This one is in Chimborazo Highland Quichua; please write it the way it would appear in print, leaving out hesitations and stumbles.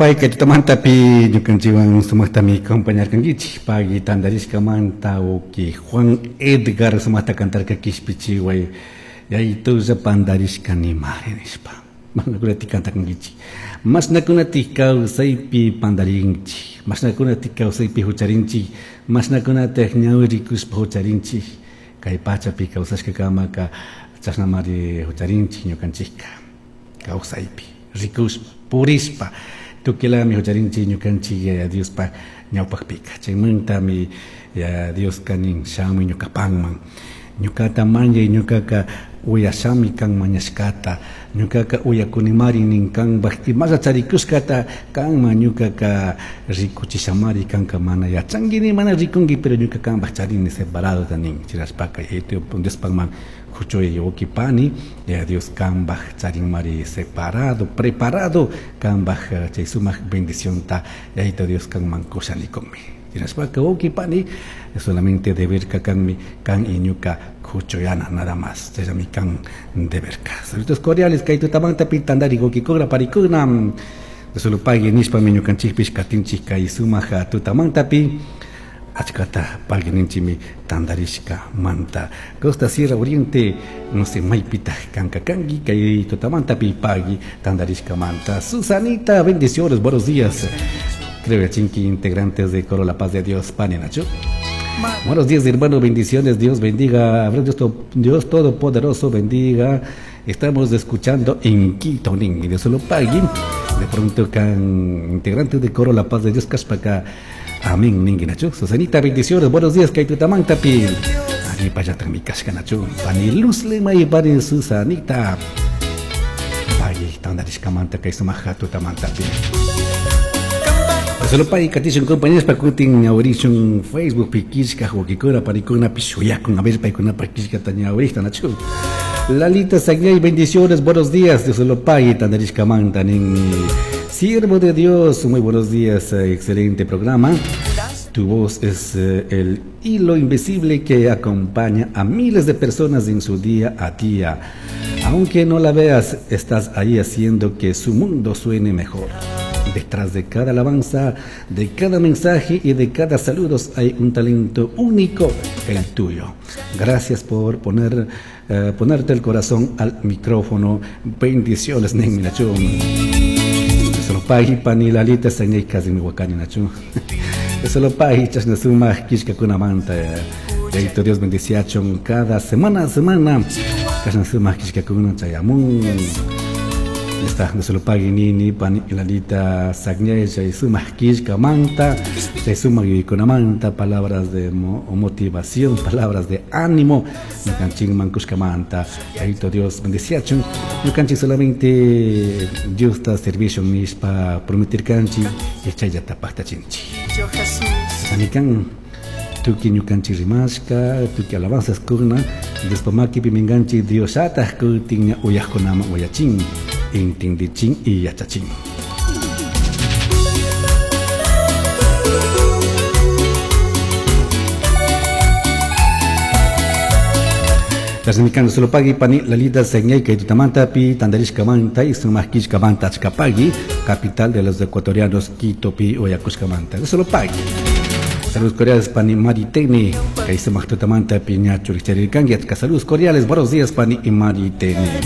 Solo pay kay tutamantapi ñukanchikwan sumaqtami acompañarkankichik pagui tantarishkamanta uki Juan Edgar sumaqta kantarka kishpichiway yayitulla pantarishkanimari nishpa. Mashnakunatik kantakankichik. Mashnakunatik kawsaypi pantarinchik. Mashnakunatik kawsaypi hucharinchik. Mashnakunatik ñawi rikushpa hucharinchik. Kay pachapi kawsashkakamaka chashnamari hucharinchik ñukanchikka. Kawsaypi rikushpa purishpa tukilami hucharinchik ñukanchik Yaya Diospa ñawpaqpika. Chaymantami Yaya Dioska nin shamuy ñukapanman. Ñukata mañay ñukaka uyashami kan mañashkata. Ñukaka uyakunimari nin kanpaq imalla charikushkata kanman ñukaka rikuchishamari kanka mana yachanki ni mana rikunki pero ñuka kanpaq charini separado nin. Chirashpaka Diospakman huchuy wawqi pani Yaya Dios kanpaq charinmari separado, preparado kanpaq chay sumaq bendicionta Yayito Dios kanman kushanikunmi. Chirashpaka wawqi pani solamente deberka kanmi kan y ñuka huchuyana nada más. Chayllami kan deberka. Saludos cordiales kay tutamantapi tantari wawqikuna parikuna. Solo pagui nishpami ñukanchikpish katinchik kay sumaq tutamantapi achkata pagui ninchimi tantarishka manta. Costa Sierra Oriente, no sé, maypita kanka kanki kay tutamantapi pagui tantarishka manta. Susanita, bendiciones, buenos días. Creo que chinki integrantes de Coro La Paz de Dios, pani nachu. Buenos días, hermano, bendiciones, Dios bendiga, Dios, Dios Todopoderoso bendiga. Estamos escuchando en Quito, nin, Dios lo pague. De pronto, can integrantes de Coro La Paz de Dios, Caspacá. Amén, nin, nachu. Susanita, bendiciones, buenos días, kay tutamantapi. Ari payatan mi kashka nachu. Pani Luz Lema y pani Susanita. Pagui, tantarishkamanta, kay sumaja tutamantapi. Solo pay katishun compañeros pa kutin ñawrishun Facebook pi kishka wawqikuna parikuna pishuyakun a ver paykuna pa kishkata ñawrishta nachu. Lalita Sagnay, bendiciones, buenos días, Dios lo pague, tantarishkamanta nin. Siervo de Dios, muy buenos días, excelente programa. Tu voz es el hilo invisible que acompaña a miles de personas en su día a día. Aunque no la veas, estás ahí haciendo que su mundo suene mejor. Detrás de cada alabanza, de cada mensaje y de cada saludo hay un talento único, el tuyo. Gracias por ponerte el corazón al micrófono. Bendiciones, nin nachu. Solo pagui pani lalita sañay casi mi wakani nachu. Solo pagui chashna sumaq kishkakunamanta. Yayito Dios bendiciachun cada semana a semana. Chashna sumaq kishkakuna chayamun. Está, no se lo pague nini, pani lalita sagnay, chay sumaq kishkamanta, chay sumaq yuyaykunamanta, palabras de motivación, palabras de ánimo, ñukanchikman kushkamanta. Yayito Dios bendiciachun. Ñukanchik solamente Dios ta servicio nishpa prometirkanchik, y chayllata paqtachinchik. Sanikan, tuki ñukanchik rimashka, tuki alabanzas kuna, Diospa makipi minkanchik Diosataq kutin ña uyaqkunaman uyachin, entendichin y yachachin. Tasmikando solo pagui pani lalita señay kay tutamanta pi tandarishkamanta y sumaq kishkamanta achkapagui, capital de los ecuatorianos Quito pi oyakushkamanta. Solo pagui. Saludos cordiales pani Mariteni, kay sumaq tutamanta pi ñachu richarikanki achka saludos cordiales, buenos días pani y Mariteni.